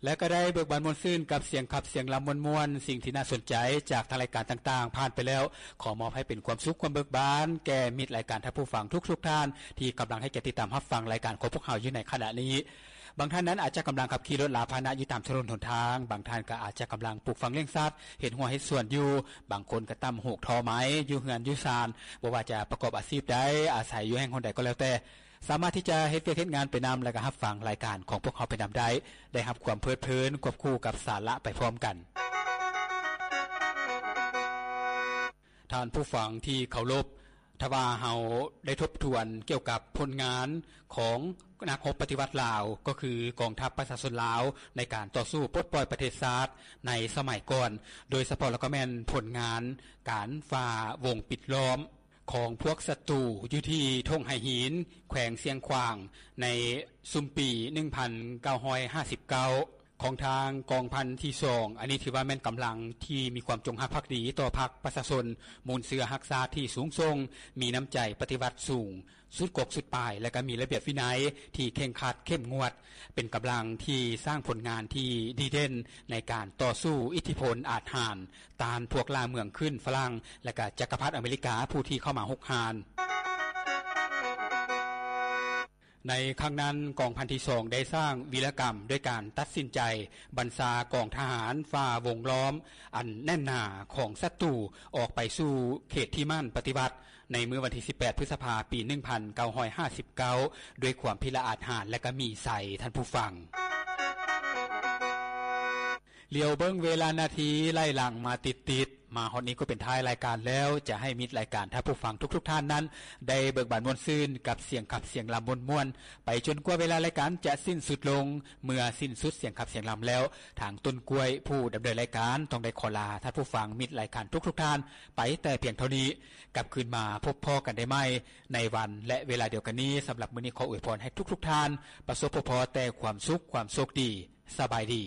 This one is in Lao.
ແລະກໍໄດ້ເບີກບານມ່ວນຊື່ນກັບສຽງຂັບສຽງລຳມ່ວນໆ. ສິ່ງທີ່ໜ້າສົນໃຈຈາກທາງລາຍການຕ່າງໆຜ່ານໄປແລ້ວ ຂໍມອບໃຫ້ເປັນຄວາມສຸກຄວາມເບີກບານແກ່ມິດລາຍການ, ທ່ານຜູ້ຟັງທຸກໆທ່ານ ທີ່ກຳລັງໃຫ້ກຽດຕິດຕາມຮັບຟັງລາຍການຂອງພວກເຮົາຢູ່ໃນຂະນະນີ້. ບາງທ່ານນັ້ນອາດຈະກຳລັງຂັບຂີ່ລົດລາພາຫະນະຢູ່ຕາມຖະໜົນຫົນທາງ, ບາງທ່ານກໍອາດຈະກຳລັງປູກຝັງລ້ຽງສັດ, ເຮັດຮົ້ວເຮັດສວນຢູ່, ບາງຄົນກໍຕ່ຳຫູກທໍໄມ້ຢູ່ເຮືອນຢູ່ຊານ. ບໍ່ວ່າຈະປະກອບອາຊີບໃດ, ອາໄສຢູ່ແຫ່ງຫົນໃດກໍແລ້ວແຕ່, ສາມາດທີ່ຈະເຮັດວຽກເຮັດງານໄປນຳ ແລະກໍຮັບຟັງລາຍການຂອງພວກເຮົາໄປນຳໄດ້, ໄດ້ຮັບຄວາມເພີດເພີນຄວບຄູ່ກັບສາລະໄປພ້ອມກັນ. ທ່ານຜູ້ຟັງທີ່ເຄົາລົບ, ຖ້າວ່າເຮົາໄດ້ທົບທວນກ່ຽວກັບຜົນງານຂອງນັກຮົບປະຕິວັດລາວ, ກໍຄືກອງທັບປະຊາຊົນລາວໃນການຕໍ່ສູ້ປົດປ່ອຍປະເທດຊາດໃນສະໄໝກ່ອນ, ໂດຍສະເພາະແລ້ວກໍແມ່ນຜົນງານການຝ່າວົງປິດລ້ອມ ຂອງພວກສັດຕູຢູ່ທີ່ທົ່ງໄຫຫີນ ແຂວງຊຽງຂວາງ ໃນຊຸມປີໜຶ່ງພັນເກົ້າຮ້ອຍຫ້າສິບເກົ້າ ຂອງທາງກອງພັນທີສອງ. ອັນນີ້ຖືວ່າແມ່ນກຳລັງທີ່ມີຄວາມຈົງຮັກພັກດີຕໍ່ພັກປະຊາຊົນ ມູນເຊື້ອຮັກຊາດທີ່ສູງສົ່ງ, ມີນ້ຳໃຈປະຕິວັດສູງສຸດກົກສຸດປາຍ ແລະກໍມີລະບຽບວິໄນທີ່ເຄັ່ງຄັດເຂັ້ມງວດ, ເປັນກຳລັງທີ່ສ້າງຜົນງານທີ່ດີເດັ່ນໃນການຕໍ່ສູ້ອິດທິພົນອາດຫານ ຕ້ານພວກລ່າເມືອງຂຶ້ນຝຣັ່ງ ແລະກະຈັກກະພັດອາເມລິກາຜູ້ທີ່ເຂົ້າມາຮຸກຮານ. ໃນຄັ້ງນັ້ນ ກອງພັນທີສອງໄດ້ສ້າງວີລະກຳດ້ວຍການຕັດສິນໃຈບັນຊາກອງທະຫານຝ່າວົງລ້ອມອັນແໜ້ນໜາຂອງສັດຕູອອກໄປສູ່ເຂດທີ່ໝັ້ນປະຕິວັດ ໃນມື້ວັນທີສິບແປດ ພຶດສະພາ ປີໜຶ່ງພັນເກົ້າຮ້ອຍຫ້າສິບເກົ້າ ດ້ວຍຄວາມພິລະອາດຫານ ແລະກະມີໄຊ, ທ່ານຜູ້ຟັງ. ຫຼຽວເບິ່ງເວລານາທີໄລ່ຫຼັງມາຕິດໆ, ມາຮອດນີ້ກໍເປັນທ້າຍລາຍການແລ້ວ, ຈະໃຫ້ມິດລາຍການ, ທ່ານຜູ້ຟັງທຸກໆທ່ານນັ້ນ ໄດ້ເບີກບານມ່ວນຊື່ນກັບສຽງຂັບສຽງລຳມ່ວນໆ ໄປຈົນກວ່າເວລາລາຍການຈະສິ້ນສຸດລົງ. ເມື່ອສິ້ນສຸດສຽງຂັບສຽງລຳແລ້ວ, ທາງຕົ້ນກ້ວຍຜູ້ດຳເນີນລາຍການ ຕ້ອງໄດ້ຂໍລາທ່ານຜູ້ຟັງ, ມິດລາຍການທຸກໆທ່ານ ໄປແຕ່ພຽງເທົ່ານີ້. ກັບຄືນມາພົບພໍ້ກັນໄດ້ໃໝ່ໃນວັນ ແລະ ເວລາດຽວກັນນີ້. ສຳລັບມື້ນີ້ ຂໍອວຍພອນໃຫ້ທຸກໆທ່ານປະສົບພົບພໍ້ແຕ່ຄວາມສຸກ, ຄວາມໂຊກດີ. ສະບາຍດີ.